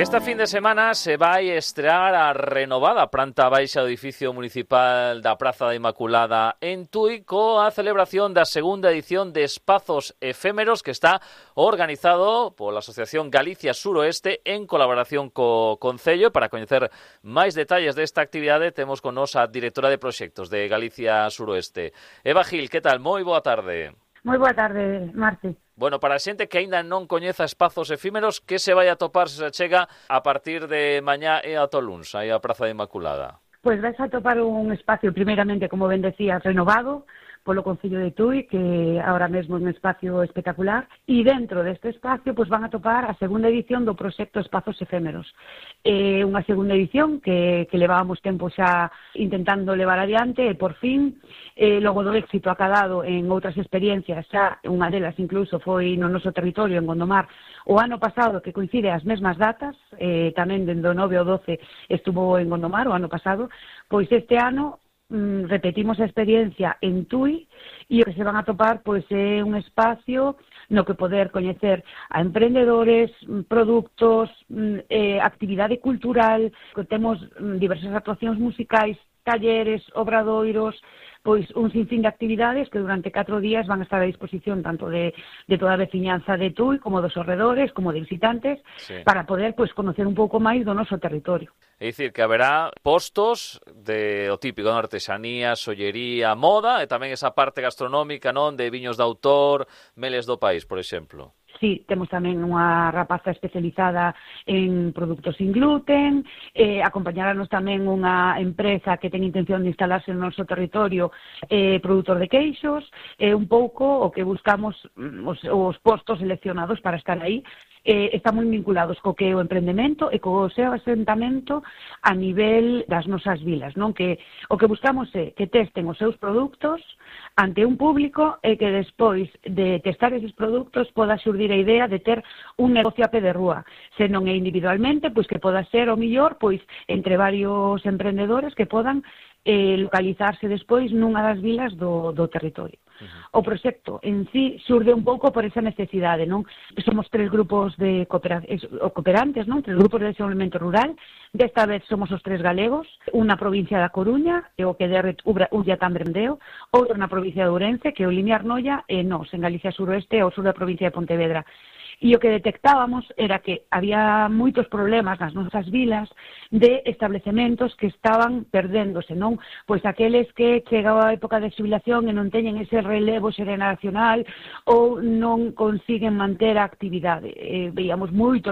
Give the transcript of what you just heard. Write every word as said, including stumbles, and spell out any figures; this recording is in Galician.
Esta fin de semana se vai estrear a renovada planta baixa do edificio municipal da Praza da Inmaculada en Tui coa celebración da segunda edición de Espazos Efémeros que está organizado pola Asociación Galicia Suroeste en colaboración co Concello. Para coñecer máis detalles desta actividade temos con nos a directora de proxectos de Galicia Suroeste. Eva Gil, que tal? Moi boa tarde. Moi boa tarde, Marti. Bueno, para a xente que aínda non coñeza Espazos Efímeros, que se vai a topar se chega a partir de mañá e ata o luns, aí a Praza da Inmaculada? Pois vais a topar un espacio, primeiramente, como ben decías, renovado polo Concello de Tui, que ahora mesmo é un espacio espectacular, e dentro deste espacio pois van a topar a segunda edición do proxecto Espazos Efémeros. É unha segunda edición que, que levábamos tempo xa intentando levar adiante e, por fin, eh, logo do éxito acadado en outras experiencias, xa unha delas incluso foi no noso territorio, en Gondomar, o ano pasado, que coincide as mesmas datas, eh, tamén dende o nove ao doce estuvo en Gondomar o ano pasado, pois este ano repetimos a experiencia en Tui e o que se van a topar pois é un espacio no que poder coñecer a emprendedores, produtos, eh, actividade cultural, que temos diversas actuacións musicais, talleres, obradoiros, pois un sinfín de actividades que durante catro días van a estar a disposición tanto de, de toda a veciñanza de Tui como dos arredores, como de visitantes, sí, para poder pois conocer un pouco máis do noso territorio. É dicir, que haberá postos de o típico, de artesanía, sollería, moda, e tamén esa parte gastronómica, non, de viños de autor, meles do país, por exemplo. Sí, temos tamén unha rapaza especializada en produtos sin gluten, eh, acompañarnos tamén unha empresa que ten intención de instalarse no noso territorio, eh, produtor de queixos, eh, un pouco o que buscamos os, os postos seleccionados para estar aí, eh, están moi vinculados co que é o emprendemento e co seu asentamento a nivel das nosas vilas, non? Que o que buscamos é que testen os seus produtos ante un público e que despois de testar eses produtos poda xurdir a idea de ter un negocio a pé de rúa. Se non é individualmente, pois que poda ser o millor pois entre varios emprendedores que podan eh, localizarse despois nunha das vilas do, do territorio. Uh-huh. O proxecto en sí xurde un pouco por esa necesidade, non? Somos tres grupos de coopera- cooperantes, non? Tres grupos de desenvolvemento rural. Desta vez somos os tres galegos, unha provincia da Coruña, que é o que de Ulla Tambrendeo, outra na provincia de Ourense, que é o Limiar Noia, e nós, en Galicia Suroeste, ao sur da provincia de Pontevedra. E o que detectábamos era que había moitos problemas nas nosas vilas de establecementos que estaban perdéndose, non? Pois aqueles que chegaba a época de xubilación e non teñen ese relevo xeracional ou non consiguen manter a actividade. Eh, veíamos moito lo